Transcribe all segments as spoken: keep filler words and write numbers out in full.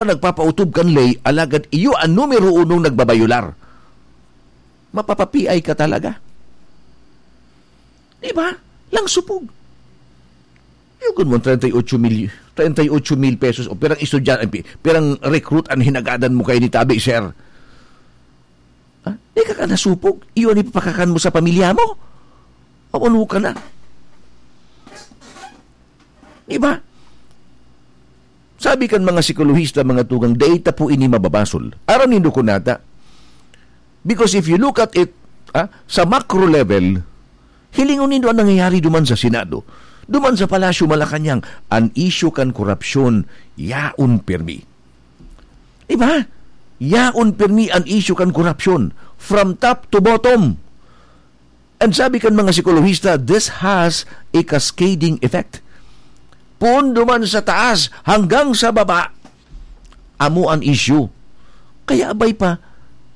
nagpapautob kan ley, alagad iyo an numero unong nagbabayular. Mapapa-P I ka talaga. Di ba? Langsopog. Yugon mo, treinta y ocho mil, treinta y ocho mil pesos, o pirang estudyante, pi-, pirang recruit an hinagadan mo kaini tabi, sir. Ha? Di ka ka nasupog? Iyo an ipapakakan mo sa pamilya mo? Awan ka na. Di ba? Sabi kan mga psikolohista, mga tugang, data po ini mababasol. Aram nindo ko nata. Because if you look at it, ah, sa macro level, hilingon nindo ang nangyayari duman sa Senado, duman sa Palasyo Malacañang, an isyu kan korupsyon, yaon pirmi. Di ba? Yaon pirmi an isyu kan korupsyon, from top to bottom. And sabi kan mga psikolohista, this has a cascading effect. Poon duman sa taas hanggang sa baba, amo an isyu. Kaya abay pa,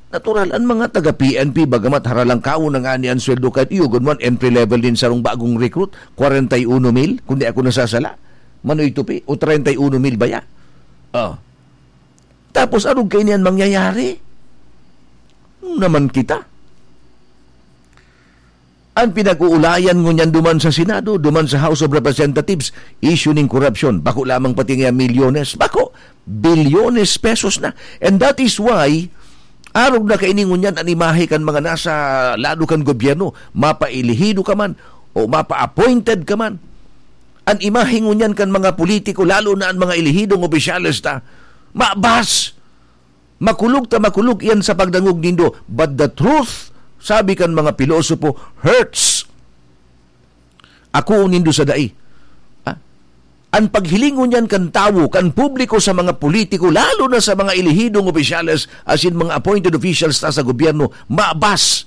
natural an mga taga-P N P, bagamat haralangkaon na ngani an sweldo, kahit iyo, gunman, entry level nin sarong bagong recruit, kwarenta y uno mil, kung di ako nasasala, Manoy Tupi, o treinta y uno mil baya. Oh. Tapos, arog kaini an mangyayari? Naman kita. An pinag-uulayan ngunyan duman sa Senado, duman sa House of Representatives, isyu nin korupsyon. Bako lamang pati nga milyones. Bako, bilyones pesos na. And that is why, arog na kaini ngunyan an imahe kan mga nasa lado kan gobyerno, mapaelehido ka man, o mapa-appointed ka man. An imahe ngunyan kan mga politiko, lalo na an mga elehidong opisyales ta, mabas. Makulog ta makulog iyan sa pagdangog nindo. But the truth, sabi kan mga pilosopo, hurts. Ako nindo sa dai. Ah, an paghiling ngunyan kan tawo, kan publiko sa mga politiko, lalo na sa mga elehidong opisyales, as in mga appointed officials ta sa gobyerno, mabas.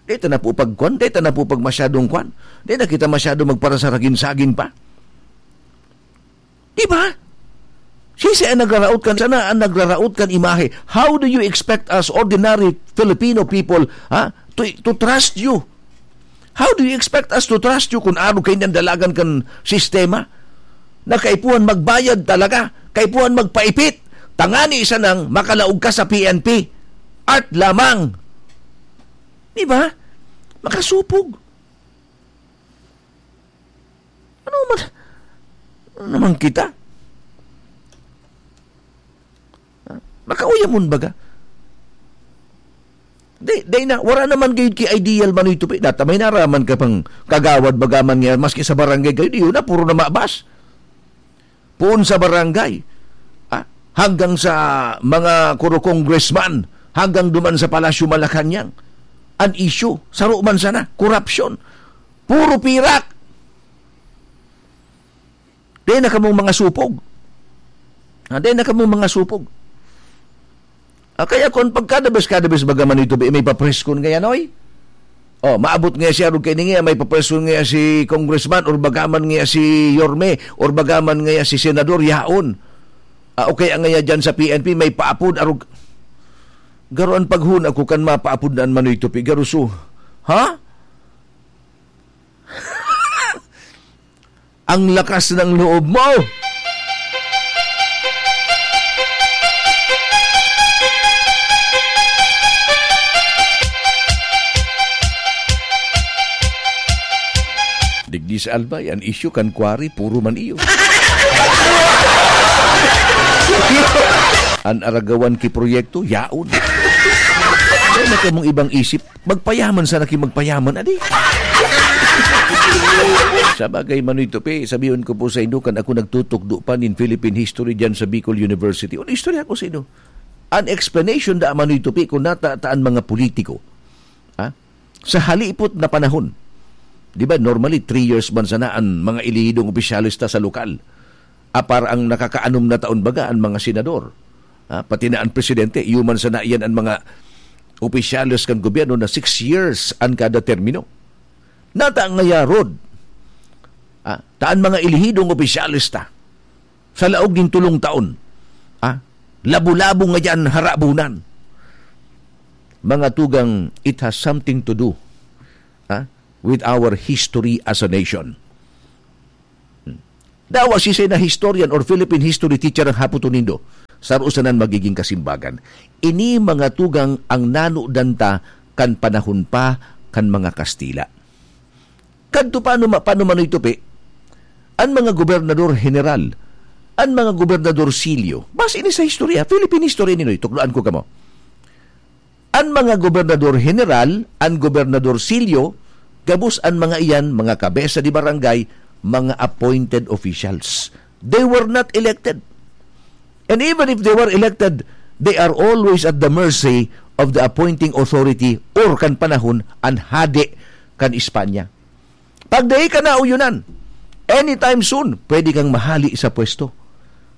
Di ta na po pagkwan, di ta na po pag masyadong kwan. Di na kita masyado magparasaragin-sagin pa. Di ba? Siisay an nagraraot kan, sana an nagraraot kan imahe. How do you expect us, ordinary Filipino people, ha, to, to trust you? How do you expect us to trust you kung arog kaini an dalagan kan sistema? Na kaipuhan magbayad talaga, kaipuhan magpaipit, tangani sanang makalaog ka sa P N P. Art lamang. Di ba? Makasupog. Ano man, ano naman kita? Makauyamon baga? Di, di na, wala naman gayud ki ideal Manoy Tupi. Data may naraman ka pang kagawad baga man nga, maski sa barangay kayo, di yun na, puro na mabas. Poon sa barangay, ah, hanggang sa mga kuro congressman, hanggang duman sa Palasyo Malacañang. An issue, saro man sana, korupsyon. Puro pirak. Di na kamong mga supog. Ah, di na kamong mga supog. Ah, kaya kung pagkada bes, kada bes baga man ito, may papreskon ngayon, oy? Oh, maabot nga siya, arog kaini nga, may papreskon nga si congressman, or bagaman nga si Yorme, or bagaman nga si senador, yaon. Ah, o kaya nga dyan sa P N P, may paapod, arog. Garo an paghuna ko kan mapaapod na an Manoy Tupi, garo su. Ha? Ang lakas ng loob mo! Digdi sa Albay, an isyu kan quarry, puro man iyo. An aragawan ki proyekto, yaon. Kaya na kamong ibang isip, magpayaman sana ki magpayaman, adi. Sa bagay, Manoy Tupi, sabihon ko po sa inyo, kan ako nagtutukdo pa nin Philippine history dyan sa Bicol University. Ano istorya ko sa inyo? An explanation da, Manoy Tupi, kung natataan mga politiko. Ha? Sa halipot na panahon, di ba, normally, three years man sana an mga elehidong opisyales ta sa lokal. Apar ang nakakaanom na taon baga an mga senador. Ah, pati na an presidente, iyo man sana iyan an mga opisyales kan gobyerno na six years an kada termino. Nata ngaya rod, ah, ta an mga elehidong opisyales ta, sa laog nin tolong taon, ah, labo-labo ngayan harabunan. Mga tugang, it has something to do, ah, with our history as a nation. Hmm. Dawa siisay na historian or Philippine history teacher ang hapoton nindo. Saro sana an magiging kasimbagan. Ini mga tugang ang nanodan ta kan panahon pa kan mga Kastila. Kadto pa ano ma-, pa ano Manoy Tupi, an mga gobernador general, an mga gobernadorcillo, base ini sa historia, Philippine history ini, Noy, tukdoan ko kamo. An mga gobernador general, an gobernadorcillo, gabos an mga iyan, mga kabesa de barangay, mga appointed officials. They were not elected. And even if they were elected, they are always at the mercy of the appointing authority or kan panahon an hade kan Espanya. Pag dai ka nauyonan, anytime soon, pwede kang mahali sa pwesto.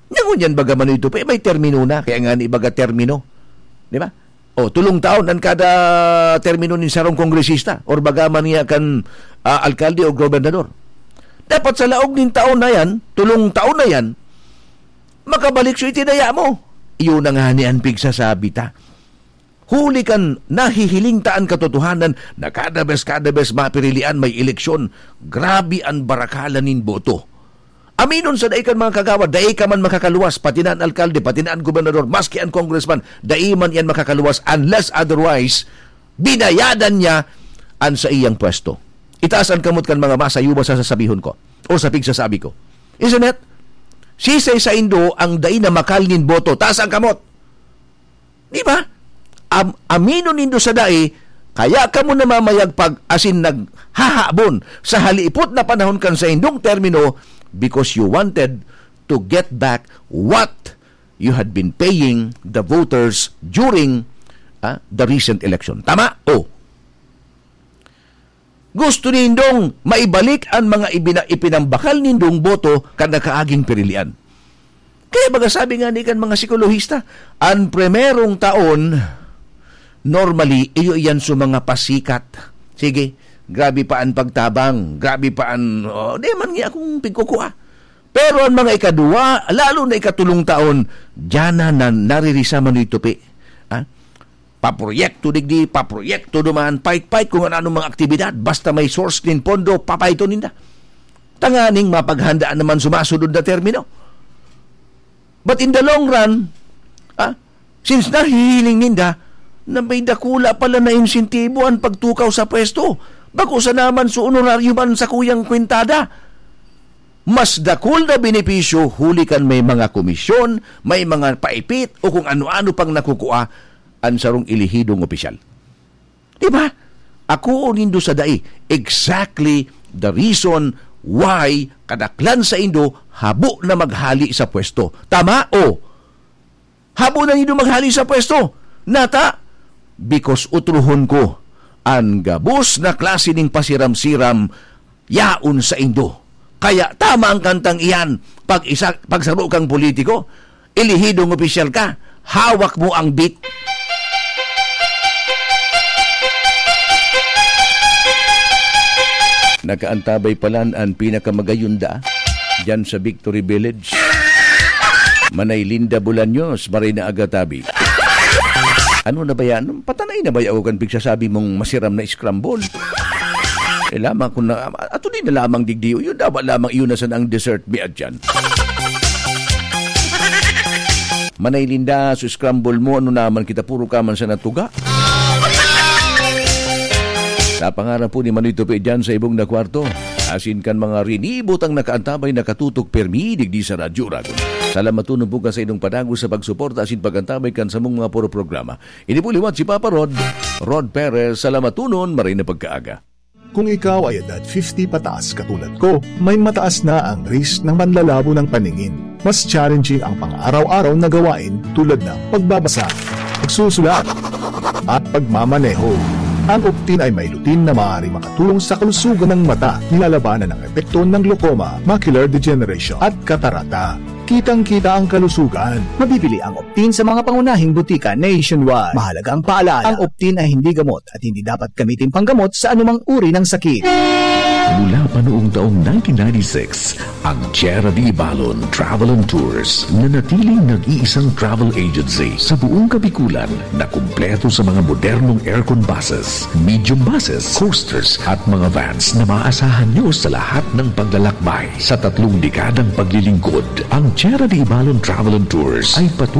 Nya ngunyan baga Manoy Tupi, may termino na, kaya nga ni baga termino. Di ba? O, tulong taon an kada termino nin sarong kongresista or baga man niya kan, ah, alkalde o gobernador. Dapat sa laog nin taon na yan, tulong taon na yan, makabalik so itinaya mo. Iyon na nga ni an pigsasabi ta. Huli kan nahihiling ta an katotohanan na kada bes, kada bes mapirilian may eleksyon, grabe an barakalan nin boto. Aminon sa dai kan mga kagawad, dai ka man makakaluwas, pati na an alkalde, pati na an gobernador, maski an congressman, dai man iyan makakaluwas unless otherwise, binayadan niya an saiyang pwesto. Itaas an kamot kan mga masayuba sa sasabihon ko o sa pigsasabi ko. Isn't it? Sisay saindo ang dai na makal nin boto? Taas ang kamot. Di ba? Am-, aminon nindo sa dai, kaya kamo namamayagpag asin naghahabon sa halipot na panahon kan saindong termino because you wanted to get back what you had been paying the voters during, ah, the recent election. Tama? O. Gusto nindong maibalik an mga ibina-, ipinambakal nindong boto kan nakaaging pirilian. Kaya baga sabi nga ni kan mga psikolohista, an primerong taon, normally, iyo iyan sa mga pasikat. Sige, grabe pa an pagtabang, grabe pa an, oh, di man nga akong pigkukua. Pero an mga ikaduwa, lalo na ikatulong taon, diyan na, na naririsa Manoy Tupi. Ha? Paproyekto digdi, paproyekto duman, pait-pait kung ano-anong mga aktibidad, basta may source nin pondo, papaiton ninda. Tanganing mapaghandaan naman sumasunod na termino. But in the long run, ah, since nahihiling ninda na may dakula pala na insentibo an pagtukaw sa pwesto, bako sa naman sa honoraryo man sa kuyang kwentada. Mas dakul na benepisyo huli kan may mga komisyon, may mga paipit o kung ano-ano pang nakukua an sarong elehidong opisyal. Di ba? Ako nindo sa dai, exactly the reason why kadaklan saindo habo na maghali sa pwesto. Tama? O, habo na nindo maghali sa pwesto. Nata? Because utrohon ko, an gabos na klase ning pasiram-siram yaon saindo. Kaya tama ang kantang iyan, pag isa, pag saro kang politiko, elehidong opisyal ka, hawak mo ang beat. Nakaantabay palan an pinakamagayunda diyan sa Victory Village. Manay Linda Bolaños, Marina Agatabi. Ano na ba yan? Patanay na ba yaw kan pigsasabi mong masiram na scramble? Eh, lamang ko na, ato din na lamang digdiyo. Yun, dapat lamang iyon na sana ang dessert mi at yan. Manay Linda, so scramble mo, ano naman kita, puro ka man sa natuga. Sa pangaran po ni Manoy Tupi dyan sa ibong na kwarto, asin kan mga rinibot ang nakaantabay, nakatutok, permi, digdi sa Radyo Uragon. Salamatunon po ka sa inyong padagos sa pagsuporta asin pag-antabay kan samong mga puro programa. Ini po liwat si Papa Rod, Rod Perez, salamatunon, maray na pagkaaga. Kung ikaw ay edad fifty pataas katulad ko, may mataas na ang risk ng panlalabo ng paningin. Mas challenging ang pang-araw-araw na gawain tulad ng pagbabasa, pagsusulat, at pagmamaneho. Ang Optin ay may lutein na maaari makatulong sa kalusugan ng mata, nilalabanan ang epekto ng glaucoma, macular degeneration, at katarata. Kitang-kita ang kalusugan. Mabibili ang Optin sa mga pangunahing butika nationwide. Mahalagang paalala, ang Optin ay hindi gamot at hindi dapat gamitin panggamot sa anumang uri ng sakit. Mula pa noong taong nineteen ninety-six, ang Tierra de Ibalon Travel and Tours nanatiling nag-iisang travel agency sa buong Kabikulan na kumpleto sa mga modernong aircon buses, medium buses, coasters at mga vans na maasahan nyo sa lahat ng paglalakbay. Sa tatlong dekadang paglilingkod, ang Tierra de Ibalon Travel and Tours ay patuloy